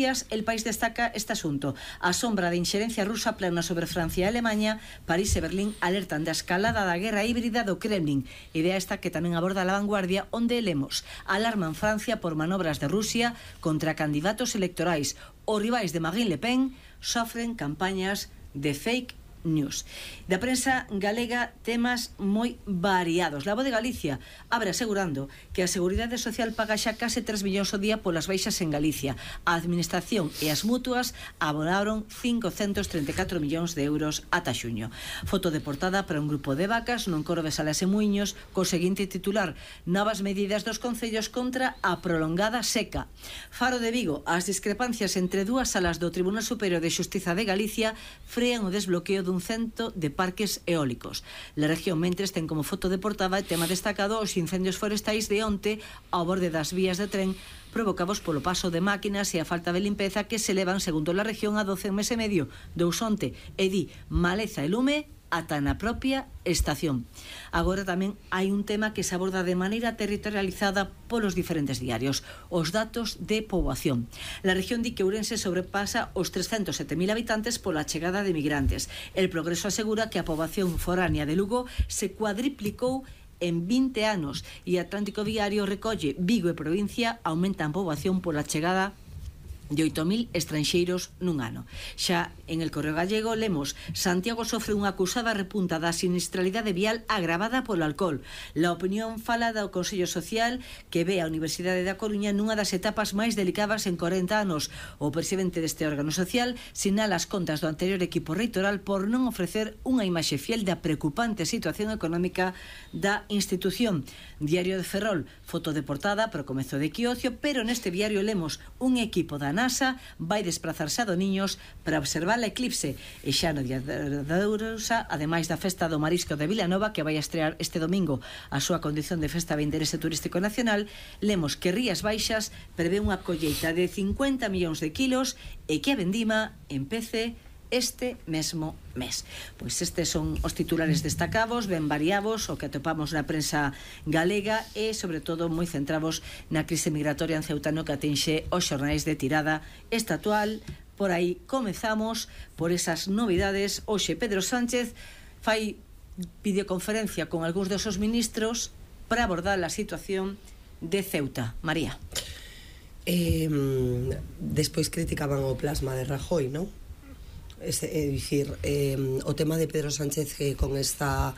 Noticias, El País destaca este asunto. A sombra de inxerencia rusa plana sobre Francia e Alemanha, París e Berlín alertan da escalada da guerra híbrida do Kremlin. Idea esta que tamén aborda La Vanguardia, onde lemos: alarman Francia por manobras de Rusia contra candidatos electorais. Os rivais de Marine Le Pen sofren campañas de fake news. Da prensa galega, temas moi variados. La Voz de Galicia abre asegurando que a Seguridade Social paga xa case 3 millóns ao día polas baixas en Galicia. A Administración e as mutuas abonaron 534 millóns de euros ata xuño. Foto de portada para un grupo de vacas nun coro de Salas e Muiños co seguinte titular: novas medidas dos concellos contra a prolongada seca. Faro de Vigo: as discrepancias entre dúas salas do Tribunal Superior de Xustiza de Galicia frean o desbloqueo dun cento de parques eólicos. La región mentres ten como foto de portada e tema destacado os incendios forestais de onte ao borde das vías de tren provocados polo paso de máquinas e a falta de limpeza que se levan, segundo la región, a 12 meses e medio de Usonte, e di maleza e lume ata na propia estación. Agora tamén hai un tema que se aborda de maneira territorializada polos diferentes diarios: os datos de poboación. La región di que Ourense sobrepasa os 307.000 habitantes pola chegada de migrantes. El Progreso asegura que a poboación foránea de Lugo se cuadriplicou en 20 anos e Atlántico Diario recolle Vigo e provincia aumentan poboación pola chegada de 8.000 estranxeiros nun ano. Xa en El Correo Gallego lemos: Santiago sofre unha acusada repunta da sinistralidade vial agravada polo alcohol. La Opinión fala do Consello Social que ve a Universidade da Coruña nunha das etapas máis delicadas en 40 anos. O presidente deste órgano social sinala as contas do anterior equipo reitoral por non ofrecer unha imaxe fiel da preocupante situación económica da institución. Diario de Ferrol: foto de portada para o comezo de equinoccio, pero neste diario lemos: un equipo da NASA vai desplazarse a Doniños para observar a eclipse. E xa no día da Ourosa, ademais da festa do marisco de Vilanova, que vai a estrear este domingo a súa condición de festa de interese turístico nacional, lemos que Rías Baixas prevé unha colleita de 50 millóns de kilos e que a vendima empece este mesmo mes. Pois estes son os titulares destacados, ben variados, o que atopamos na prensa galega e, sobre todo, moi centrados na crise migratoria en Ceuta, no que atinxe os xornais de tirada estatual. Por aí comezamos por esas novidades. Hoxe Pedro Sánchez fai videoconferencia con algúns dos seus ministros para abordar a situación de Ceuta. María. Despois criticaban o plasma de Rajoy, non? É dicir, o tema de Pedro Sánchez con esta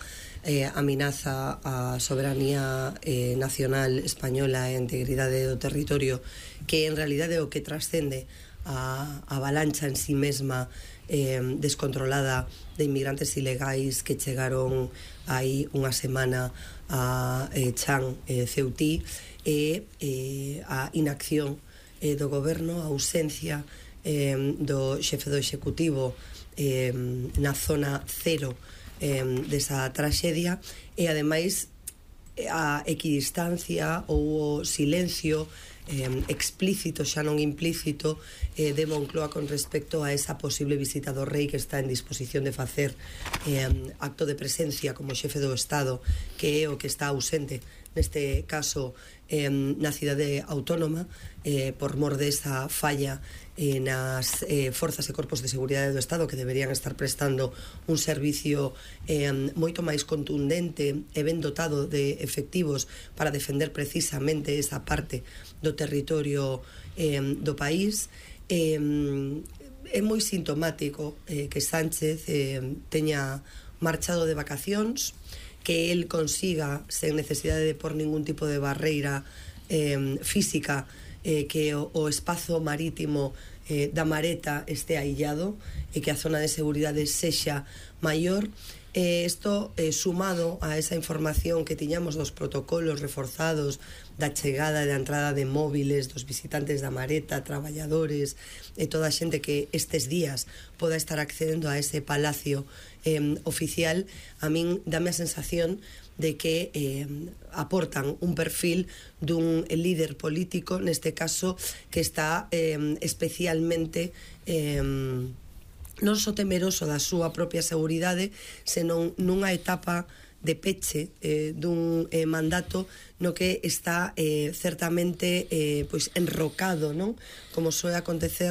amenaza á soberanía nacional española e a integridade do territorio, que en realidade é o que trascende a avalancha en sí mesma descontrolada de inmigrantes ilegais que chegaron aí unha semana a Chan, Ceutí, e a inacción do goberno, a ausencia do xefe do executivo na zona cero desa traxedia, e ademais a equidistancia ou o silencio explícito, xa non implícito, de Moncloa con respecto a esa posible visita do rei, que está en disposición de facer acto de presencia como xefe do Estado, que é o que está ausente neste caso na cidade autónoma por mor desa falla nas forzas e corpos de seguridade do Estado, que deberían estar prestando un servicio moito máis contundente e ben dotado de efectivos para defender precisamente esa parte do territorio do país. É moi sintomático que Sánchez teña marchado de vacacións, que el consiga, sen necesidade de por ningún tipo de barreira física, que o espazo marítimo da Mareta este aillado e que a zona de seguridade sexa maior. Isto sumado a esa información que tiñamos dos protocolos reforzados da chegada e da entrada de móviles dos visitantes da Mareta, traballadores e toda a xente que estes días poda estar accedendo a ese palacio oficial, a min dame a sensación de que aportan un perfil dun líder político, neste caso, que está especialmente non só temeroso da súa propia seguridade, senón nunha etapa de peche dun mandato no que está certamente pois enrocado, non? Como soe acontecer